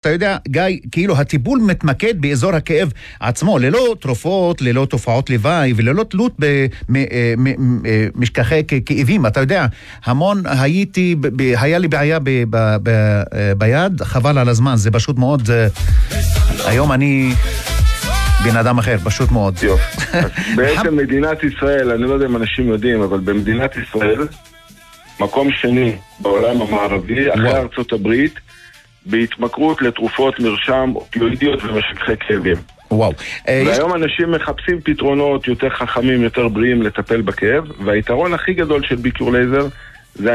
אתה יודע, גיא, כאילו הטיפול מתמקד באזור הכאב עצמו, ללא תרופות, ללא תופעות לוואי, וללא תלות במשככי כאבים. אתה יודע, המון היה לי בעיה ביד, חבל על הזמן, זה פשוט מאוד, היום אני בן אדם אחר, פשוט מאוד. בעצם מדינת ישראל, אני לא יודע אם אנשים יודעים, אבל במדינת ישראל, מקום שני בעולם המערבי, אחרי ארצות הברית, בהתמכרות לתרופות מרשם אופיואידיות ומשככי כאבים. וואו. והיום אנשים מחפשים פתרונות יותר חכמים, יותר בריאים לטפל בכאב, והיתרון הכי גדול של ביקור לייזר זה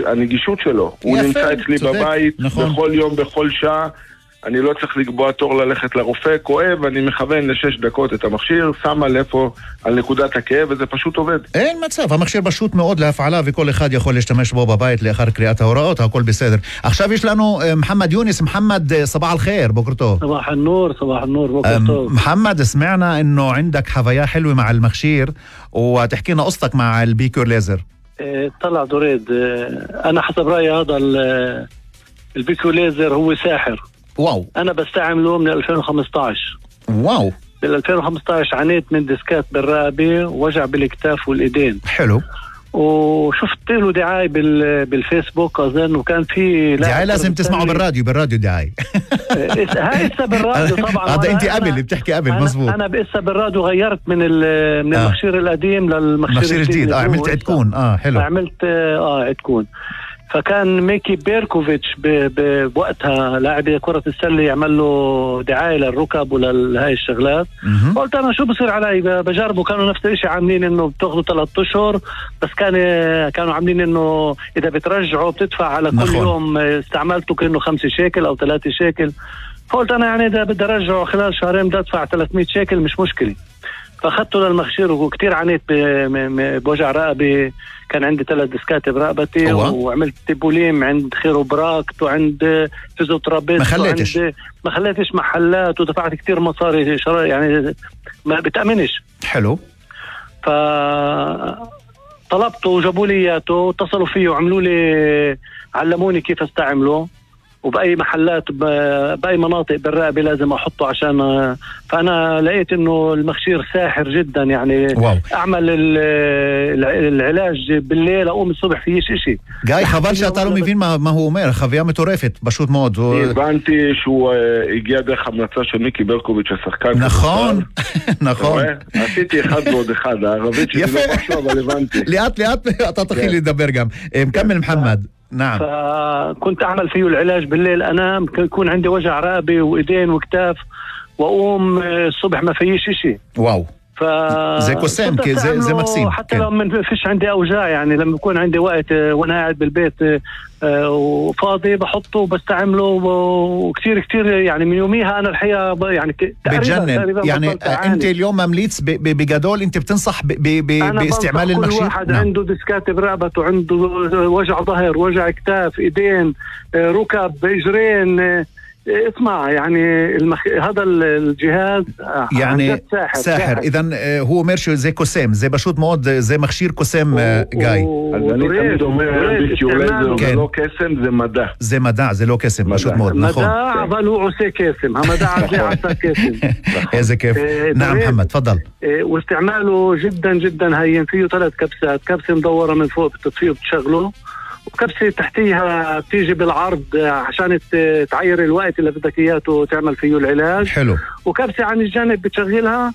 הנגישות שלו. הוא נמצא אצלי בבית, בכל יום, בכל שעה. אני לא צריך לקבוע תור ללכת לרופא, כואב, אני מכוון ל6 דקות את המכשיר, שמה לאיפה על נקודת הכאב, וזה פשוט עובד. אין מצב, המכשיר פשוט מאוד להפעלה, וכל אחד יכול להשתמש בו בבית לאחר קריאת ההוראות, הכל בסדר. עכשיו יש לנו محمد يونس. محمد صباح الخير، بكر طוב. صباح النور، صباح النور، بكر طוב. محمد، سمعنا انه عندك حفايا حلوة مع المخشير، وتحكي لنا قصتك مع البيكور ليزر. طلع دريد، انا حسب رأيي هذا البيكور ليزر هو ساحر. واو. أنا بستعمله من 2015. واو. بال 2015 عانيت من ديسكات بالرقبة ووجع بالكتاف والإيدين. حلو. وشفت له دعاية بالفيسبوك أظن، وكان في دعاية لازم تسمعه بالراديو دعاية. هاي لسه بالراديو طبعا. هذا أنت قبل بتحكي قبل، مزبوط. أنا لسه بالراديو غيرت من المخشير القديم للمخشير الجديد. عملت عدكون. حلو. عملت عدكون. فكان ميكي بيركوفيتش بوقتها لاعب كرة السلة يعمل له دعاية للركب ولهاي الشغلات. قلت أنا شو بصير علي بجربه. كانوا نفس الشيء عاملين إنه بتاخذوا 3 أشهر، بس كانوا عاملين إنه إذا بترجعوا بتدفع على كل يوم استعملته كأنه 5 شيكل أو 3 شيكل. فقلت أنا يعني إذا بدي أرجعه خلال شهرين بدي أدفع 300 شيكل، مش مشكلة. فأخذته للمخشير وكتير عانيت بوجع رقبة. كان عندي 3 ديسكات برقبتي، وعملت تيبوليم عند خيروبراكت وعند فيزيوترابيست. ما خليتش محلات، ودفعت كتير مصاري يعني ما بتأمنش. حلو. فطلبته وجابوا لي اياته، واتصلوا فيه وعملوا لي، علموني كيف استعمله، وبأي محلات بأي مناطق بالرقبة لازم أحطه عشان. فأنا لقيت إنه المخشير ساحر جدا يعني. واو. أعمل العلاج بالليل، أقوم الصبح فيش إشي. גיא, חבל שאתה לא מבין מה הוא אומר, חוויה מטורפת, פשוט מאוד. הבנתי שהוא הגיע דרך המלצה של מיקי ברקוביץ', השחקן. נכון, נכון. עשיתי 1 ועוד 1, הערבית שלי לא משהו, אבל הבנתי. לאט לאט אתה תתחיל לדבר גם. מכמל محمد. نعم. فكنت أعمل فيه العلاج بالليل، أنام يكون عندي وجع رقبة وإيدين وكتاف، وأقوم الصبح ما فيش إشي. واو. زي قسام زي مكسيم. حتى لو ما فيش عندي أوجاع، يعني لما يكون عندي وقت وأنا قاعد بالبيت وفاضي بحطه وبستعمله، وكتير كتير يعني من يوميها أنا الحقيقة يعني بتجنن. يعني أنت اليوم ممليت بجدول، أنت بتنصح باستعمال المخشير؟ كل واحد عنده ديسكات برقبته، عنده وجع ظهر، وجع كتاف، إيدين، ركب، إجرين. اسمع يعني هذا الجهاز يعني ساحر. إذن هو مرشو زي قسام، زي بشوط مود زي مخشير قسام. جاي אני תמיד אומר, ביקור לייזר זה לא קסם, זה מדע. זה מדע, זה לא קסם, פשוט מאוד, נכון. מדע, אבל הוא עושה קסם. המדע הזה עשה קסם. איזה كيف. نعم محمد، تفضل. واستعماله جدا جدا هين. فيه 3 كبسات، كبسة مدورة من فوق بتطفيه وبتشغله، وكبسة تحتيها بتيجي بالعرض عشان تعير الوقت اللي بدك اياه وتعمل فيه العلاج. حلو. وكبسة عن الجانب بتشغلها،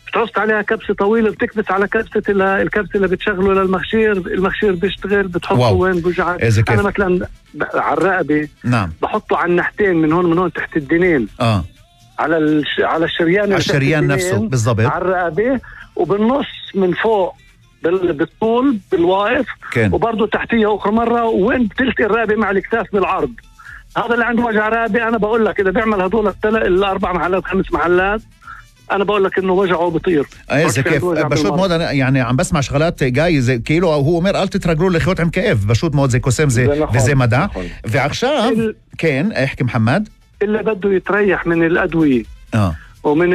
بتحط عليها كبسة طويلة، بتكبس على الكبسة اللي بتشغله للمخشير، المخشير بيشتغل، بتحطه وين بوجعك. أنا مثلا على الرقبة. نعم. بحطه على الناحيتين، من هون تحت الدنين. على الشريان نفسه بالضبط. على الرقبة، وبالنص من فوق بالطول بالواقف، وبرضه تحتيها أخرى مرة، وين بتلتقي الرقبة مع الكتاف بالعرض. هذا اللي عنده وجع رقبة، أنا بقول لك إذا بيعمل هدول 4 محلات 5 محلات، أنا بقول لك إنه وجعه بيطير. إذا كيف بشوط مود. أنا يعني عم بسمع شغلات جاي زي كيلو، هو אומר אל תתרגלו לחיות עם כאב. بشوط مود زي قسم וזה מדע. ועכשיו כן, احكي محمد. اللي بده يتريح من الأدوية ومن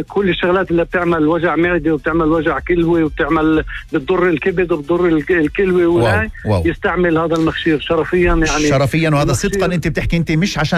كل الشغلات اللي بتعمل وجع معدة وبتعمل وجع كلوي وبتعمل بتضر الكبد وبتضر الكلوي يستعمل هذا المخشير شرفيا. يعني شرفيا، وهذا صدقا انت بتحكي انت مش عشان